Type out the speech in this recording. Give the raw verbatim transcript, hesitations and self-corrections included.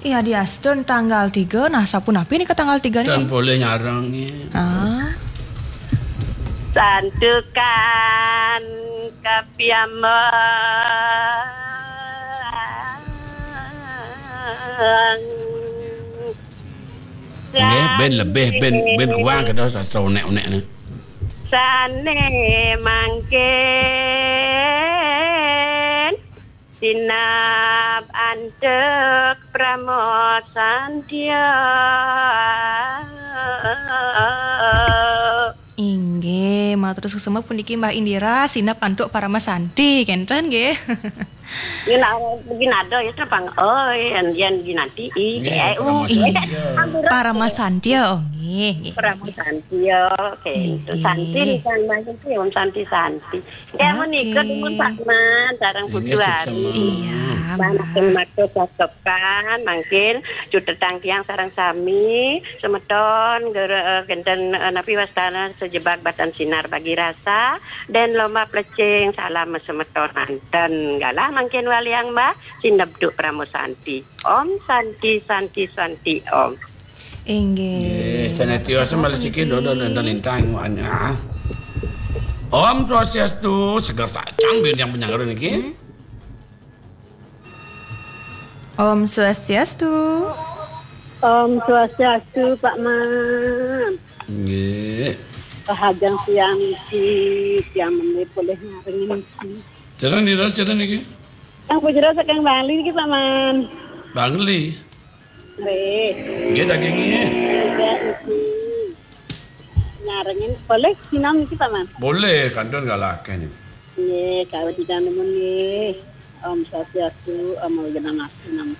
Iya, diastun tanggal tiga. Nah, sapunapi nika tanggal tiga nika? Dan boleh nyarang ya. Ah. Santukan kapiambang. Nggih, ben lebih, ben, ben kuang kedah sastra unek-unek ni. Sane mangkin sinab antuk Pramo Santia. Inggih, matur suksma puniki Mbah Indira, sinab antuk Parama Santi, kenten nggih. Ini nak begini ada ya, terpang. Oh, yang, yang ginanti, i, Nggih, eh, Parama u. Santia. Parama Santia, oh, nggih, nggih. Parama Santia, oke. Nggih. Santi, kan, Mbah, itu yang Santi, Santi. Ya, oke. Menika dumun Pak Man, sareng Putu Ari. Iya, Mbah. Matur catepan, mangkin cutetang tiang sareng sami, semeton, gere-, eh, genten, eh, napi wastana sejebak batan sinar bagi rasa, dan lomba plecing, salam semeton manten. Galah mangkin waliang Mbah, sinebduk Pramo Santi. Om Santi, Santi, Santi, Om. Inggih. Nggih, sanetiasa malih siki dodo nonton lintang, ah. Om Swastiastu, seger sacang biar yang penyangga niki. Hmm. Om Swastiastu. Om Swastiastu, Pak Man. Nggih. Rahajeng siang niki, tiang meni polih nyaring niki. Jalan nira, jalan niki. Yang pujero saking Bali niki, Pak Man. Bangli. Nggih. Nggih, dagingnya. Nggih, niki. Nyarengin, boleh sinam niki, Pak Man? Boleh, kantun nggih akeh niki. Nggih, kawedingan nuwun nggih. Om Swastiastu, Om Awighnam Astu Namo.